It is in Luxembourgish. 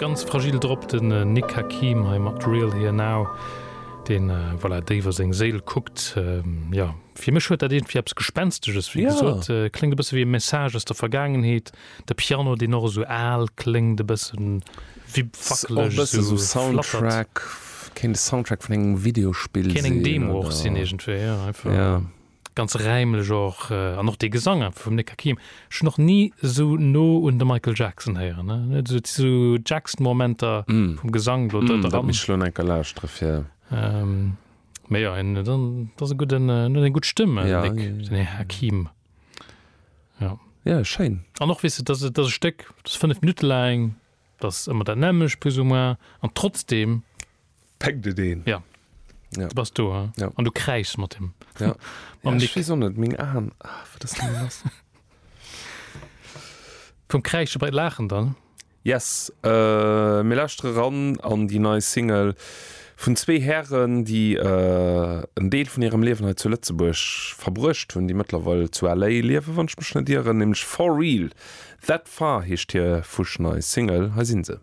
Ganz fragil drop den Nick Hakim hei mat Real Here Now, deen voilà déif a seng Séil kuckt. Jo, fir mech huet dat iergendwéi eppes Gespensteges, wéi gesot. Kléngt e bësse wéi e Message aus der Vergaangenheet. De Piano, deen och esou al kléngt, e bëssen wéi wackeleg, esou flattert. Kéint e Soundtrack vun engem Videospill sinn. Kéint eng Demo och sinn iergendwéi, jo, einfach. Ganz räimlech och, an och dee Gesang einfach vum Nick Hakim. Ech hunn och ni esou no un de Michael Jackson héieren, ne? Et huet esou Jackson-Momenter vum Gesang do dran. Dat misst ech elo enker lauschtere fir. Mee jo, en dat ass e gudden, en huet eng gutt Stëmm, den Nick, den Här Hakim. Jo. Jo, schéin. An och, weess de, dat ass e Stéck, dat ass 5 Minutte laang, dat ass ëmmer dat nämmlecht plus ou moins, an trotzdeem. Peckt et een. Ja. Ja. Du bass do, hein? Ja. An du kräischs mat him. Ja. Mam ja, Nick. Ech weess och net, meng Aen. Ah, wat ass denn lass? Vum Kräische bei d'Laachen dann. Yes, äh, mir lauschtere ran an déi nei Single vun zwee Hären, déi äh, en Deel vun hirem Liewen hei zu Lëtzebuerg verbruecht hunn, déi mëttlerweil zu LA liewen, wann ech mech net ieren, nämlech For Real. That Far heescht hir fuschnei Single. Hei sinn se.